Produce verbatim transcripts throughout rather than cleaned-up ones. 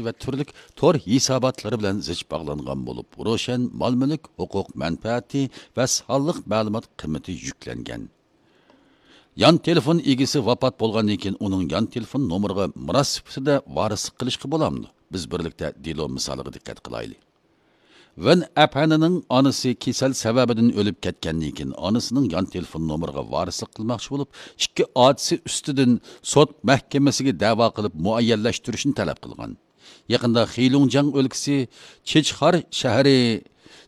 ۋە تۈرلۈك تور ھېساباتلىرى بىلەن زىچ باغلانغان بولۇپ، روشەن مال-مۈلۈك، ھوقۇق مەنپەئەتى ۋە سانلىق مەلۇمات قىممىتى يۈكلەنگەن. يان تېلېفون ئىگىسى ۋاپات بولغاندىن كېيىن ئۇنىڭ يان تېلېفون نومۇرىغا مىراس سۈپىتىدە ۋارىسلىق قىلىشقا بولامدۇ؟ بىز بىرلىكتە دېلو مىسالىغا دىققەت قىلايلى. ۋېن ئەپەندىنىڭ ئانىسى كېسەل سەۋەبىدىن ئۆلۈپ كەتكەندىن كېيىن، ئانىسىنىڭ يان تېلېفون نومۇرىغا ۋارىسلىق قىلماقچى بولۇپ، ئىككى ئاچىسى ئۈستىدىن سوت مەھكىمىسىگە دەۋا قىلىپ، مۇئەييەنلەشتۈرۈشنى تەلەپ قىلغان. يېقىندا خېلۇڭجياڭ ئۆلكىسى چېچخار شەھىرى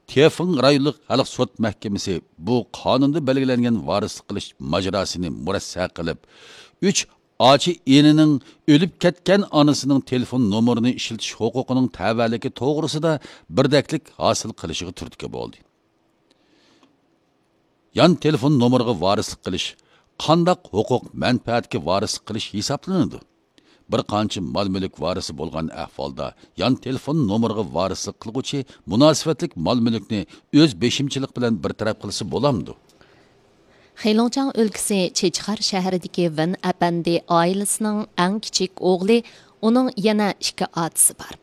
تيېفېڭ رايونلۇق خەلق سوت مەھكىمىسى بۇ قانۇندا بەلگىلەنگەن ۋارىسلىق قىلىش ماجىراسىنى مۇرەسسە قىلىپ، ئۈچ ئاچا ئىنىنىڭ ئۆلۈپ كەتكەن ئانىسىنىڭ تېلېفون نومۇرىنى ئىشلىتىش ھوقۇقىنىڭ تەۋەلىكى توغرىسىدا بىردەكلىك ھاسىل قىلىشىغا تۈرتكە بولدى. يان تېلېفون نومۇرىغا ۋارىسلىق قىلىش قانداق ھوقۇق مەنپەئەتكە ۋارىسلىق قىلىش ھېسابلىنىدۇ؟ بىر قانچە مال-مۈلۈك ۋارىسى بولغان ئەھۋالدا، يان تېلېفون نومۇرىغا ۋارىسلىق قىلغۇچى مۇناسىۋەتلىك مال-مۈلۈكنى ئۆز بېشىمچىلىق بىلەن بىر تەرەپ قىلسا بولامدۇ؟ خېلۇڭجياڭ ئۆلكىسى چېچخار شەھىرىدىكى ۋېن ئەپەندى ئائىلىسىنىڭ ئەڭ كىچىك ئوغلى، ئۇنىڭ يەنە ئىككى ئاچىسى بار.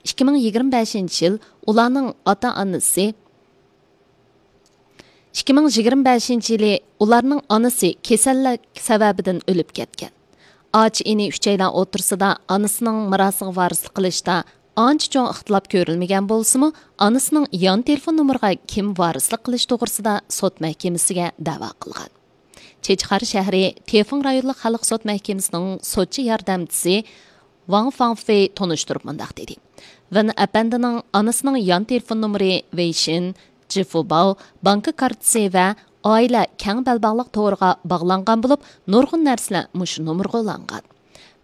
ئىككى مىڭ يىگىرمە بەشىنچى يىل ئۇلارنىڭ ئاتا-ئانىسى، ئىككى مىڭ يىگىرمە بەشىنچى يىلى ئۇلارنىڭ ئانىسى كېسەللىك سەۋەبىدىن ئۆلۈپ كەتكەن. ئاچا ئىنى ئۈچەيلەن ئوتتۇرىسىدا ئانىسىنىڭ مىراسىغا ۋارىسلىق قىلىشتا ئانچە چوڭ ئىختىلاپ كۆرۈلمىگەن بولسىمۇ، ئانىسىنىڭ يان تېلېفون نومۇرىغا كىم ۋارىسلىق قىلىش توغرىسىدا سوت مەھكىمىسىگە دەۋا قىلغان. چېچخار شەھىرى تيېفېڭ رايونلۇق خەلق سوت مەھكىمىسىنىڭ سوتچى ياردەمچىسى ۋاڭ فاڭفېي تونۇشتۇرۇپ مۇنداق دېدى: ۋېن ئەپەندىنىڭ ئانىسىنىڭ يان تېلېفون نومۇرى ۋېيشىن، جىفۇباۋ، بانكا كارتىسى ۋە ئائىلە كەڭ بەلباغلىق تورىغا باغلانغان بولۇپ، نۇرغۇن نەرسىلەر مۇشۇ نومۇرغا ئۇلانغان.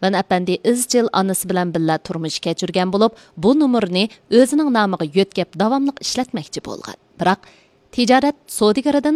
ۋېن ئەپەندى ئىزچىل ئانىسى بىلەن بىللە تۇرمۇش كەچۈرگەن بولۇپ، بۇ نومۇرنى ئۆزىنىڭ نامىغا يۆتكەپ داۋاملىق ئىشلەتمەكچى بولغان. بىراق، تىجارەت سودىگىرىدىن